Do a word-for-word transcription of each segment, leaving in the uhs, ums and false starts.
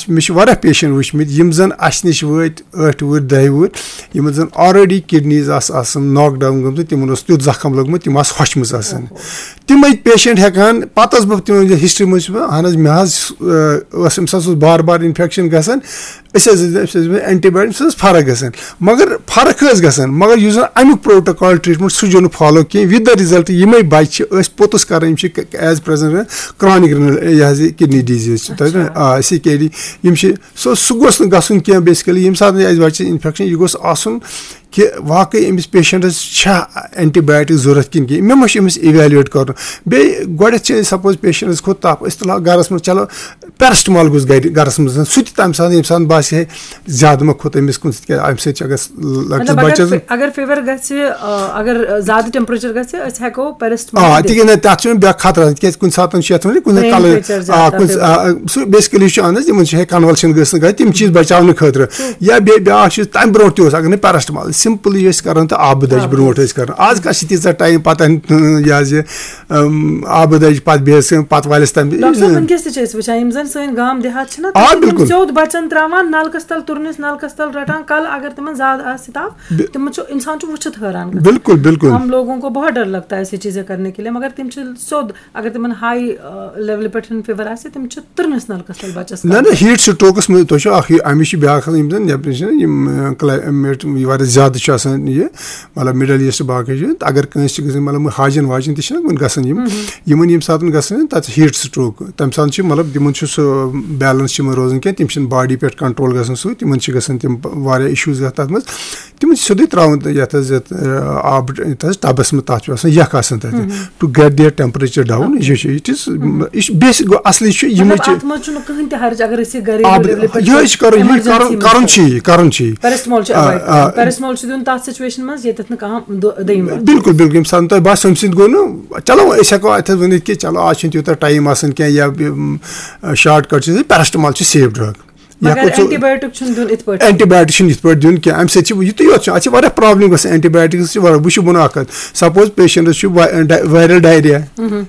مےٚ چھِ واریاہ پیشنٹ وٕچھمٕتۍ، یِم زَن اَسہِ نِش وٲتۍ ٲٹھِ وٕہٕرۍ، دَہہِ وٕہٕرۍ، یِمَن زَن آلریڈی کِڈنیٖز آسہٕ آسان ناک ڈاوُن گٔمژٕ، تِمَن اوس تیُتھ زَخم لوٚگمُت، تِم آسہٕ ہۄچھمٕژ آسان۔ تِمَے پیشنٹ ہٮ۪کان، پَتہٕ ٲس بہٕ تِمَن ہِسٹری منٛز چھُس بہٕ، اَہَن حظ، مےٚ حظ، ٲ، ٲس أمِس حظ اوس بار بار اِنفٮ۪کشَن گژھان، أسۍ حظ ٲسۍ أمِس حظ اینٹی بایوٹِک، أمِس حظ فرق گژھان۔ مگر فرق ٲس گژھان، مگر یُس زَن اَمیُک پروٹوکال ٹریٹمنٹ، سُہ چھُنہٕ فالو کینٛہہ۔ وِد دَ رِزلٹ، یِمَے بَچہِ چھِ أسۍ پوٚتُس کَران، یِم چھِ ایز پرٛزنٹ کرانِک رینل، یہِ حظ یہِ کِڈنی ڈیٖزیٖز چھِ تَتہِ، اچھا۔ آ، سی کے ڈی، یِم چھِ، سُہ، سُہ گوٚژھ نہٕ گژھُن کینٛہہ۔ بیسِکٔلی، ییٚمہِ ساتہٕ اَسہِ بَچَس اِنفٮ۪کشَن، یہِ گوٚژھ آسُن کہِ واقعی أمِس پیشنٹَس چھا اینٹی بایوٹِک ضوٚرَتھ کِنہٕ کینٛہہ، مےٚ ما چھُ أمِس اِویلیویٹ کَرُن۔ بیٚیہِ گۄڈٮ۪تھ چھِ أسۍ، سپوز، پیشنٹَس کھوٚت تَپھ، أسۍ تُلہو گَرَس منٛز، چلو، پیرسٹمال گوٚژھ گَرِ، گَرَس منٛز، سُہ تہِ تَمہِ ساتہٕ، ییٚمہِ ساتہٕ باسہِ ہے زیادٕ ما کھوٚت أمِس کُن، تِکیٛازِ اَمہِ سۭتۍ چھِ اگر لۄکٹِس مطلب، اگر بَچَس فی-، اگر فیور گژھِ، آ، اگر زیادٕ ٹیمپریچر گژھِ، أسۍ ہٮ۪کو پیرسٹمال آ، تہِ تِکیٛازِ نہ، تَتھ چھُنہٕ بیٛاکھ خطرٕ آسان، تِکیٛازِ کُنہِ ساتہٕ چھُ یَتھ وَنان، کُنہِ ساتہٕ برین کَلہٕ، فریکچر آ، زیادٕ کُنہِ سا-، تَتھ آ، سُہ بیسِکٔلی چھُ اَنٛدَز، یِمَن چھُ ہے کَنوَلشَن گٔژھ نہٕ گژھِ، تِم چیٖز بَچاونہٕ خٲطرٕ۔ یا بیٚیہِ بیٛاکھ چیٖز، تَمہِ برونٛٹھ تہِ اوس، اگر نہٕ پیرسٹمال، سِمپٕلی ٲسۍ کَران تہٕ آبہٕ دَجہِ آبہٕ برونٛٹھ دَجہِ۔ ٲسۍ کَران۔ آز کَس چھِ تیٖژاہ ٹایم پَتہ، یہِ حظ یہِ، اَم، آبہٕ دَجہِ پَتہٕ بیٚیہِ ٲسۍ پَتہٕ وَلٮ۪س تَمہِ ڈاکٹر صٲب، وٕنکیٚس تہِ چھِ أسۍ وٕچھان، یِم زَن سٲنۍ گام دیہات چھِنہ، آ، تِم چھِ تِم بِلکُل۔ سیوٚد بَچَن ترٛاوان نَلکَس تَل، تُرنِس نَلکَس تَل رَٹان، کَلہٕ اگر تِمَن زیادٕ آسہِ تَپھ، بِ- تِمَن چھُ، اِنسان چھُ وٕچھِتھ حٲران گژھان۔ بِلکُل، بِلکُل۔ ہم لوگوں کو بہت ڈر لگتا ہے ایسی چیزیں کرنے کے لیے، مگر تِم چھِ سیوٚد، اگر تِمَن ہاے، آ، لیولہِ پٮ۪ٹھ فیور آسہِ، تِم چھِ تُرنِس نَلکَس تَل بَچَس نہ، کَلہٕ۔ نہ، ہیٖٹ سٹروکَس منٛز تۄہہِ چھُ اَکھ یہِ، اَمِچ چھِ بیٛاکھ آسان، یِم زَن یَپٲرۍ چھِنہ یِم، آ، کلایمیٹ واریاہ زیادٕ چھِ آسان یہِ، مطلب، مِڈل ایٖسٹ باقٕے چھِ، تہٕ اگر کٲنٛسہِ چھِ گژھان، مطلب، ہاجَن واجَن تہِ چھِنہ وٕنہِ گژھان یِم، یِمَن ییٚمہِ ساتہٕ گژھان تَتہِ ہیٖٹ سٹروک، تَمہِ ساتہٕ چھِ، مطلب، تِمَن چھُ سُہ بیلَنس چھِ یِمَن روزان کینٛہہ، تِم چھِنہٕ باڈی پٮ۪ٹھ کنٹرول گژھان سُہ، تِمَن چھِ گژھان تِم واریاہ اِشوٗز گژھان تَتھ منٛز۔ تِمَن چھِ سیوٚدُے ترٛاوان تہٕ یَتھ حظ یَتھ، آ، آب، یَتھ حظ ٹَبَس منٛز، تَتھ چھُ آسان یَکھ آسان تَتہِ، to get their temperature down، یہِ چھُ، it is، یہِ چھِ بیسِک گوٚو، اَصلی چھُ یِمَے مطلب، چھِ اَتھ منٛز چھُنہٕ کٕہٕنۍ تہِ حرج اگر أسۍ یہِ گَرِ آب، level پٮ۪ٹھ یِہوٚے چھِ کَرُن، یہِ emergency کَرُن، منٛز کَرُن چھِ یہِ، کَرُن چھِ یہِ۔ پیرسٹمال چھُ آ، avoid آ۔ کَرُن۔ پیرسٹمال چھُ دیُن تَتھ سچویشن منٛز ییٚتٮ۪تھ نہٕ کانٛہہ دو-، دوٚیِم وَتھ۔ بِلکُل، بِلکُل، ییٚمہِ ساتہٕ تۄہہِ باسیو، اَمہِ سۭتۍ گوٚو نہٕ، چلو، أسۍ ہٮ۪کو اَتھ حظ ؤنِتھ کہِ چلو، آز چھُنہٕ تیوٗتاہ ٹایم آسان کینٛہہ، یا، یِم، شارٹ کٹ چھِ، پیرسٹمال چھُ safe drug۔ یہِ مگر ہٮ۪کو ژٕ اینٹی بایوٹک چھُنہٕ دیُن یِتھ پٲٹھۍ۔ اینٹی بایوٹک چھُنہٕ یِتھ پٲٹھۍ دیُن کینٛہہ، اَمہِ سۭتۍ چھِ یِتُے یوت چھُ، اَتھ چھِ واریاہ پرابلم گژھان، اینٹی بایوٹکس چھِ واریاہ، وٕچھِو بہٕ وَنہٕ اَکھ کَتھ، سپوز پیشنٹس چھُ وا-، ڈا-، وائرل ڈائریا،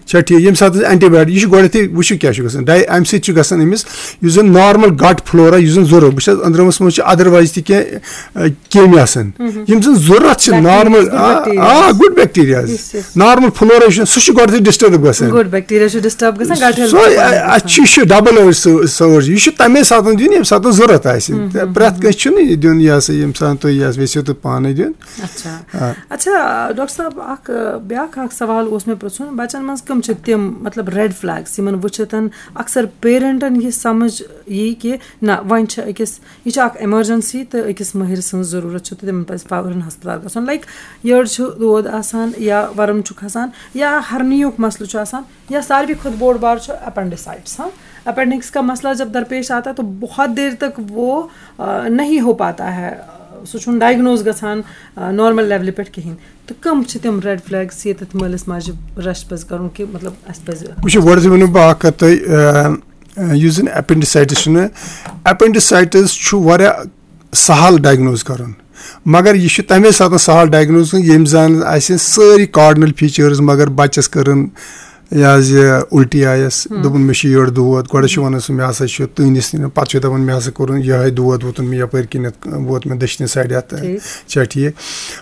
چھا ٹھیٖک، ییٚمہِ ساتہٕ أسۍ اینٹی بایوٹک، یہِ چھُ گۄڈٕنٮ۪تھٕے وٕچھِو کیٛاہ چھُ گژھان، ڈاے-، اَمہِ سۭتۍ چھُ گژھان أمِس یُس زَن نارمل گٹ فلورا یُس زَن ضروٗرت، بہٕ چھَس أنٛدرمس منٛز چھِ ادروایز تہِ کینٛہہ، کیٚمۍ آسان، یِم زَن ضروٗرت چھِ بکٹیریاز، نارمل، گُڈ آ، بکٹیریاز۔ آ، گُڈ بکٹیریاز۔ یُس، یُس۔ نارمل فلورا چھُ، سُہ چھُ گۄڈٕنٮ۪تھٕے ڈسٹرب گژھان۔ گُڈ بکٹیریا چھُ ڈسٹرب گژھان، گٹ ہیلتھ سُے، چھُ پانہٕ اَ-، اَتھ چھُ، یہِ چھُ ڈبل ایج سو-، سورس، یہِ چھُ تَمے ساتہٕ دیُن، ییٚمہِ ساتہٕ ضروٗرت آسہِ۔ تہٕ پرٛٮ۪تھ کٲنٛسہِ چھُنہٕ یہِ دیُن، یہِ ہسا، ییٚمہِ ساتہٕ تُہۍ یہِ ہسا یژھِو تہٕ پانَے دیُن۔ اچھا۔ آ۔ اچھا، ڈاکٹر صٲب، اکھ، بیٛاکھ اکھ سوال اوس مےٚ پرٛژھُن، بچن منٛز کٕم چھِ تِم، مطلب، ریڈ فلیگس، یِمن وٕچھِتھ اکثر پیرنٹن یہِ سمجھ یی کہِ نہ، وۄنۍ چھِ أکِس، یہِ چھِ اکھ ایمرجنسی تہٕ أکِس مٲہِر سٕنٛز ضروٗرت چھِ تہٕ تِمن پزِ فوراً ہسپتال گژھُن۔ لایک، یٔڈ چھُ دود آسان یا ورم چھُ کھسان یا ہرنیُک مسلہٕ چھُ آسان، یا ساروی کھۄتہٕ بوٚڑ بار چھُ اپینڈیسائٹس۔ ہاں، اپینڈکس کا مسئلہ جب درپیش آتا ہے تو بہت دیر تک وہ، آ، نہیں ہو پاتا ہے، سُہ چھُنہٕ ڈائگنوز گژھان، آ، نارمل لیولہِ پٮ۪ٹھ کِہیٖنۍ۔ تہٕ کٕم چھِ تِم ریڈ فلیگس ییٚتٮ۪تھ مٲلِس ماجہِ رش پزِ کرُن کہِ، مطلب، اَسہِ پزِ وٕچھِو، گۄڈٕ چھِ ونہٕ بہٕ اکھ کتھ تۄہہِ، آ، آ، یُس زن اپینڈیسائٹس چھُنہٕ، اپینڈیسائٹس چھُ واریاہ سہل ڈائگنوز کرُن، مگر یہِ چھُ تمے ساتہٕ سہل ڈائگنوز کرُن، ییٚمہِ زن اَسہِ سٲری کارڈنل فیچرز، مگر بچس کٔرٕن یہِ حظ یہِ الٹی آیس، دوٚپُن، "مےٚ چھُ یٔڈ دود"، گۄڈٕ چھُ ونان سُہ، "مےٚ ہسا چھُ تٔہنٛدِس"، پتہٕ چھُ دپان، "مےٚ ہسا کوٚرُن یِہوٚے دود، ووتُن مےٚ یپٲرۍ کِنٮ۪تھ، ووت مےٚ دٔچھنہِ سایڈٕ اَتھ"۔ ٹھیٖک۔ چھا ٹھیٖک؟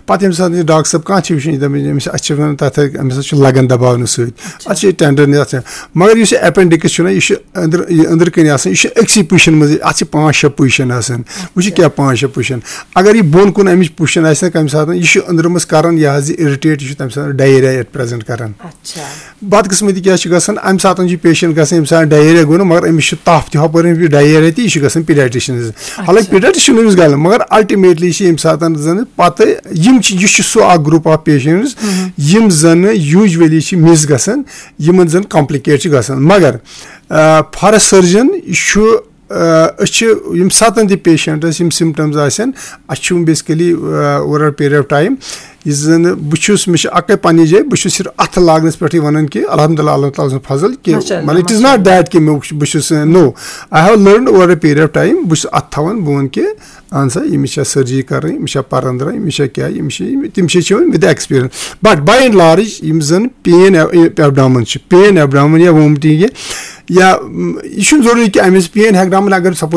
پتہٕ ییٚمہِ ساتہٕ یہِ ڈاکٹر صٲب کانٛہہ چھِ وٕچھان، یہِ دپان، أمِس، اَسہِ چھِ ونان تتھ، أمِس حظ چھُ لگان دباونہٕ سۭتۍ، اچھا۔ اَتھ چھِ ٹینڈرنس، اَتھ چھِ، مگر یُس یہِ اپینڈکس چھُنہ، یہِ چھُ أنٛدرٕ، یہِ أنٛدرٕ کِنۍ آسان، یہِ چھُ أکسٕے پُشن منٛز، اَتھ چھِ پانٛژھ شےٚ پُشن آسان۔ وٕچھِو اچھا۔ کیٛاہ پانٛژھ شےٚ پُشن۔ اگر یہِ بۄن کُن اَمِچ پُشن آسہِ نہ کُنہِ ساتہٕ، یہِ چھُ أنٛدرٕ منٛز کران یہِ حظ یہِ اِرِٹیٹ، یہِ چھُ تَمہِ ساتہٕ ڈایریا یَتھ پریزنٹ کران۔ اچھا۔ بدقٕسمتی کیٛاہ چھِ گژھان، اَمہِ ساتہٕ چھُ پیشنٹ گژھان، ییٚمہِ ساتہٕ ڈایریا گوٚو نہ، مگر أمِس چھُ تپھ تہِ ہۄپٲرۍ، یہِ ڈایریا تہِ، یہِ چھُ گژھان پیڈیٹرشنس۔ حالانکہِ اچھا۔ پیڈیٹرشن چھُنہٕ أمِس گژھان، مگر الٹیمیٹلی چھِ ییٚمہِ ساتہٕ زن پتہٕ یِم چھِ، یہِ چھُ سُہ اکھ گروپ آف پیشنٹس یِم زن یوٗجولی چھِ مِس گژھان، یِمن زن کمپلیکیٹ چھِ گژھان۔ مگر، آ، فار سرجن یہِ چھُ، آ، أسۍ چھِ یِم ساتن تہِ پیشنٹس یِم سمپٹمز آسن، اَسہِ چھُ بیسکلی، آ، اوور پیریڈ آف ٹایم یُس زن بہٕ چھُس، مےٚ چھِ اَکٕے پننہِ جایہِ، بہٕ چھُس صرف اَتھٕ لاگنَس پٮ۪ٹھٕے وَنان کہِ الحمدللہ، اللہ تعالیٰ سُنٛد فضل کہِ، ماشاء اللہ، مطلب، it is ماشاء not that کہِ مےٚ وُچھ، بہٕ چھُس، no، I have learned over a period of time، بہٕ چھُس اَتھٕ تھاوان، بہٕ وَنہٕ کہِ اہن سا، ییٚمِس چھا سرجری کَرٕنۍ، ییٚمِس چھا پَرَن درٛاے، ییٚمِس چھا کیٛاہ، ییٚمِس چھِ، یِم، تِم چھِ چھِ وۄنۍ with experience۔ But by and large، یِم زَن پین ایبڈامن چھِ، پین ایبڈامن یا وومٹنگ یا، یا، م، یہِ چھُنہٕ ضروٗری کہِ أمِس پین ایبڈامن اگر سپوز